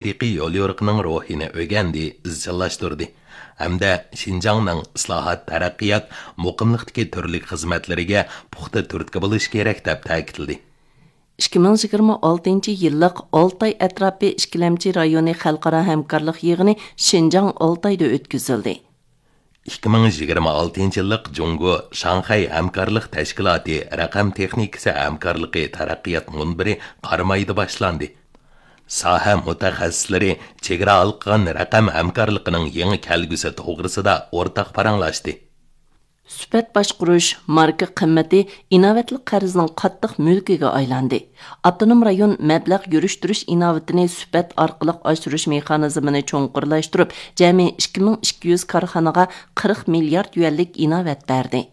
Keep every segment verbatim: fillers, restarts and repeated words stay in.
ھەقىقىي يوليورۇقىنىڭ روھىنى ئۆگەندى، ئىزچىللاشتۇردى ھەمدە شىنجاڭنىڭ ئىسلاھات، تەرەققىيات، مۇقىملىقتىكى تۈرلۈك خىزمەتلىرىگە پۇختا تۈرتكە بولۇش كېرەك، دەپ تەكىتلىدى. ئىككى مىڭ يىگىرمە ئالتىنچى يىللىق ئالتاي ئەتراپى ئىككىلەمچى رايونى خەلقئارا ھەمكارلىق يىغىنى شىنجاڭ ئالتايدا ئۆتكۈزۈلدى. ئىككى مىڭ يىگىرمە ئالتىنچى يىللىق جۇڭگو شاڭخەي ھەمكارلىق تەشكىلاتى رەقەم تېخنىكىسى ھەمكارلىقى تەرەققىيات مۇنبىرى قارامايدا باشلاندى. ساھە مۇتەخەسسىسلىرى چېگرا ھالقىغان رەقەم ھەمكارلىقىنىڭ يېڭى كەلگۈسى توغرىسىدا ئورتاق پاراڭلاشتى. سۈپەت باشقۇرۇش، ماركا قىممىتى ئىناۋەتلىك قەرزنىڭ قاتتىق مۈلكىگە ئايلاندى. ئاپتونوم رايون مەبلەغ يۈرۈشتۈرۈش ئىناۋىتىنى سۈپەت ئارقىلىق ئاشۇرۇش مېخانىزمىنى چوڭقۇرلاشتۇرۇپ، جەمئىي ئىككى مىڭ ئىككى يۈز كارخانىغا قىرىق مىليارد يۈەنلىك ئىناۋەت بەردى.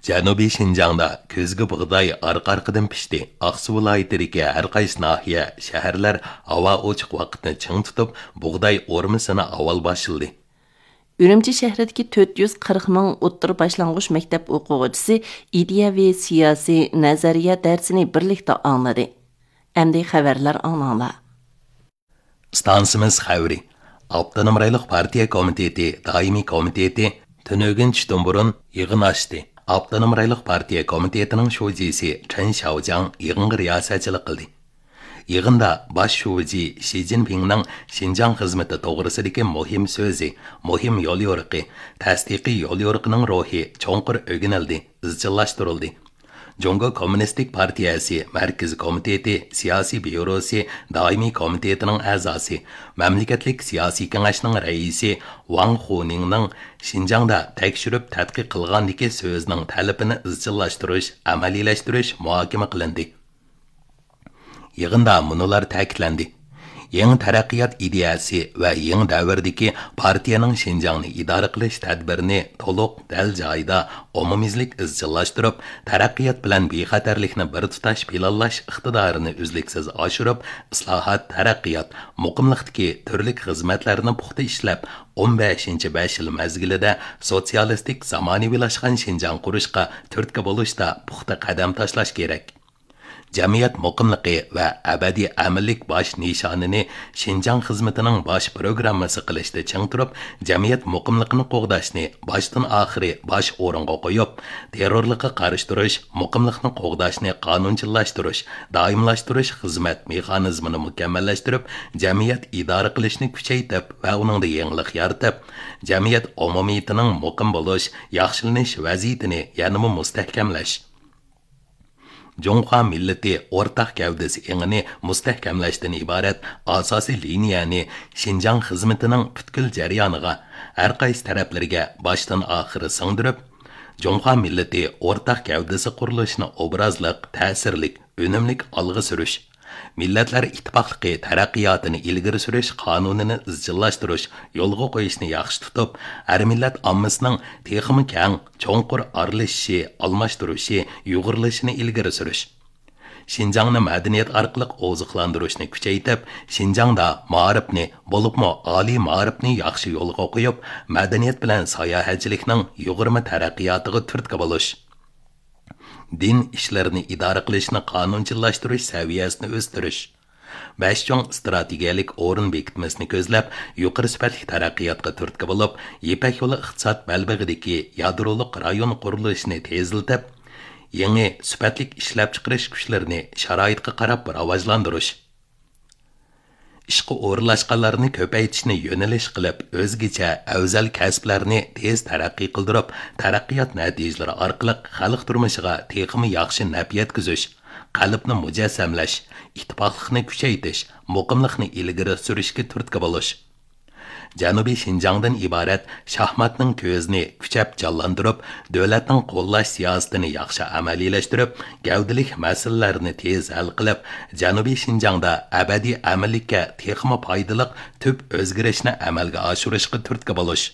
جەنۇبىي شىنجاڭدا كۈزگى بۇغداي ئارقا-ئارقىدىن پىشتى. ئاقسۇ ۋىلايىتىدىكى ھەر قايسى ناھىيە، شەھەرلەر ھاۋا ئوچۇق ۋاقىتنى چىڭ تۇتۇپ، بۇغداي ئورمىسىنى ئاۋۋال باشلىدى. ئۈرۈمچى شەھىرىدىكى تۆت يۈز قىرىق مىڭ ئوتتۇرا باشلانغۇچ مەكتەپ ئوقۇغۇچىسى ئىدىيەۋى، سىياسىي، نەزەرىيە دەرسىنى بىرلىكتە ئاڭلىدى. ئەمدى خەۋەرلەر ئاڭلاڭلار. ئىستانسىمىز خەۋىرى. ئاپتونوم رايونلۇق پارتىيە كومىتېتى دائىمىي كومىتېتى تۈنۈگۈن چۈشتىن بۇرۇن يىغىن ئاچتى. ئاپتونوم رايونلۇق پارتىيە كومىتېتىنىڭ شۇجىسى چېن شياۋجياڭ يىغىنغا رىياسەتچىلىك قىلدى. يىغىندا باش شۇجى شى جىنپىڭنىڭ شىنجاڭ خىزمىتى توغرىسىدىكى مۇھىم سۆزى، مۇھىم يوليورۇقى، تەستىقىي يوليورۇقىنىڭ روھى چوڭقۇر ئۆگىنىلدى، ئىزچىللاشتۇرۇلدى. جۇڭگو كوممۇنىستىك پارتىيەسى مەركىزىي كومىتېتى سىياسىي بيۇروسى دائىمىي كومىتېتىنىڭ ئەزاسى، مەملىكەتلىك سىياسىي كېڭەشنىڭ رەئىسى ۋاڭ خۇنىڭنىڭ شىنجاڭدا تەكشۈرۈپ تەتقىق قىلغاندىكى سۆزىنىڭ تەلىپىنى ئىزچىللاشتۇرۇش، ئەمەلىيلەشتۈرۈش مۇھاكىمە قىلىندى. يىغىندا مۇنۇلار تەكىتلەندى: يېڭى تەرەققىيات ئىدىيەسى ۋە يېڭى دەۋردىكى پارتىيەنىڭ شىنجاڭنى ئىدارە قىلىش تەدبىرىنى تولۇق، دەل جايىدا، ئومۇميۈزلۈك ئىزچىللاشتۇرۇپ، تەرەققىيات بىلەن بىخەتەرلىكنى بىر تۇتاش پىلانلاش ئىقتىدارىنى ئۈزلۈكسىز ئاشۇرۇپ، ئىسلاھات، تەرەققىيات، مۇقىملىقتىكى تۈرلۈك خىزمەتلەرنى پۇختا ئىشلەپ، ئون بەشىنچى بەش يىل مەزگىلىدە سوتسىيالىستىك زامانىۋىلاشقان شىنجاڭ قۇرۇشقا تۈرتكە بولۇشتا پۇختا قەدەم تاشلاش كېرەك. جەمئىيەت مۇقىملىقى ۋە ئەبەدىي ئەمىنلىك باش نىشانىنى شىنجاڭ خىزمىتىنىڭ باش پروگراممىسى قىلىشتا چىڭ تۇرۇپ، جەمئىيەت مۇقىملىقىنى قوغداشنى باشتىن ئاخىرى باش ئورۇنغا قويۇپ، تېررورلۇققا قارشى تۇرۇش، مۇقىملىقنى قوغداشنى قانۇنچىللاشتۇرۇش، دائىملاشتۇرۇش خىزمەت مېخانىزمىنى مۇكەممەللەشتۈرۈپ، جەمئىيەت ئىدارە قىلىشنى كۈچەيتىپ ۋە ئۇنىڭدا يېڭىلىق يارىتىپ، جەمئىيەت ئومۇمىيىتىنىڭ مۇقىم بولۇش، ياخشىلىنىش ۋەزىيىتىنى يەنىمۇ مۇستەھكەملەش. جۇڭخۇا مىللىتى ئورتاق گەۋدىسى ئېڭىنى مۇستەھكەملەشتىن ئىبارەت ئاساسىي لىنىيەنى شىنجاڭ خىزمىتىنىڭ پۈتكۈل جەريانىغا، ھەر قايسى تەرەپلىرىگە باشتىن ئاخىر سىڭدۈرۈپ، جۇڭخۇا مىللىتى ئورتاق گەۋدىسى قۇرۇلۇشىنى ئوبرازلىق، تەسىرلىك، ئۈنۈملۈك ئالغا سۈرۈش، مىللەتلەر ئىتتىپاقلىقى تەرەققىياتىنى ئىلگىرى سۈرۈش قانۇنىنى ئىزچىللاشتۇرۇش، يولغا قويۇشنى ياخشى تۇتۇپ، ھەر مىللەت ئاممىسىنىڭ تېخىمۇ كەڭ، چوڭقۇر ئارىلىشىشى، ئالماشتۇرۇشى، يۇغۇرۇلۇشىنى ئىلگىرى سۈرۈش. شىنجاڭنى مەدەنىيەت ئارقىلىق ئوزۇقلاندۇرۇشنى كۈچەيتىپ، شىنجاڭدا مائارىپنى، بولۇپمۇ ئالىي مائارىپنى ياخشى يولغا قويۇپ، مەدەنىيەت بىلەن ساياھەتچىلىكنىڭ يۇغۇرما تەرەققىياتىغا تۈرتكە بولۇش. دىن ئىشلىرىنى ئىدارە قىلىشنى قانۇنچىللاشتۇرۇش سەۋىيەسىنى ئۆستۈرۈش. بەش چوڭ ئىستراتېگىيەلىك ئورۇن بېكىتمىسىنى كۆزلەپ، يۇقىرى سۈپەتلىك تەرەققىياتقا تۈرتكە بولۇپ، يىپەك يولى ئىقتىساد بەلبېغىدىكى يادرولۇق رايون قۇرۇلۇشىنى تېزلىتىپ، يېڭى سۈپەتلىك ئىشلەپچىقىرىش كۈچلىرىنى شارائىتقا قاراپ راۋاجلاندۇرۇش. ئىشقا ئورۇنلاشقانلارنى كۆپەيتىشنى يۆنىلىش قىلىپ، ئۆزگىچە ئەۋزەل كەسىپلەرنى تېز تەرەققىي قىلدۇرۇپ، تەرەققىيات نەتىجىلىرى ئارقىلىق خەلق تۇرمۇشىغا تېخىمۇ ياخشى نەپ يەتكۈزۈش، قەلبنى مۇجەسسەملەش، ئىتتىپاقلىقنى كۈچەيتىش، مۇقىملىقنى ئىلگىرى سۈرۈشكە تۈرتكە بولۇش. جەنۇبىي شىنجاڭدىن ئىبارەت شاھماتنىڭ كۆزىنى كۈچەپ جانلاندۇرۇپ، دۆلەتنىڭ قوللاش سىياسىتىنى ياخشى ئەمەلىيلەشتۈرۈپ، گەۋدىلىك مەسىلىلەرنى تېز ھەل قىلىپ، جەنۇبىي شىنجاڭدا ئەبەدىي ئەمىنلىككە تېخىمۇ پايدىلىق تۈپ ئۆزگىرىشنى ئەمەلگە ئاشۇرۇشقا تۈرتكە بولۇش.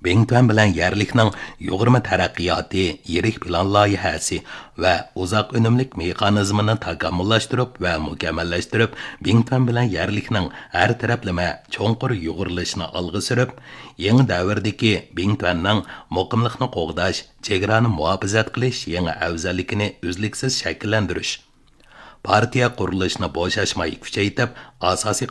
بىڭتۈەن بىلەن يەرلىكنىڭ يۇغۇرما تەرەققىياتى يىرىك پىلان لايىھەسى ۋە ئۇزاق ئۈنۈملۈك مېخانىزمىنى تاكامۇللاشتۇرۇپ ۋە مۇكەممەللەشتۈرۈپ، بىڭتۈەن بىلەن يەرلىكنىڭ ھەر تەرەپلىمە چوڭقۇر يۇغۇرۇلۇشىنى ئالغا سۈرۈپ، يېڭى دەۋردىكى بىڭتۈەننىڭ مۇقىملىقنى قوغداش، چېگرانى مۇھاپىزەت قىلىش يېڭى ئەۋزەللىكىنى ئۈزلۈكسىز شەكىللەندۈرۈش. پارتىيە قۇرۇلۇشىنى بوشاشماي كۈچەيتىپ، ئاساسىي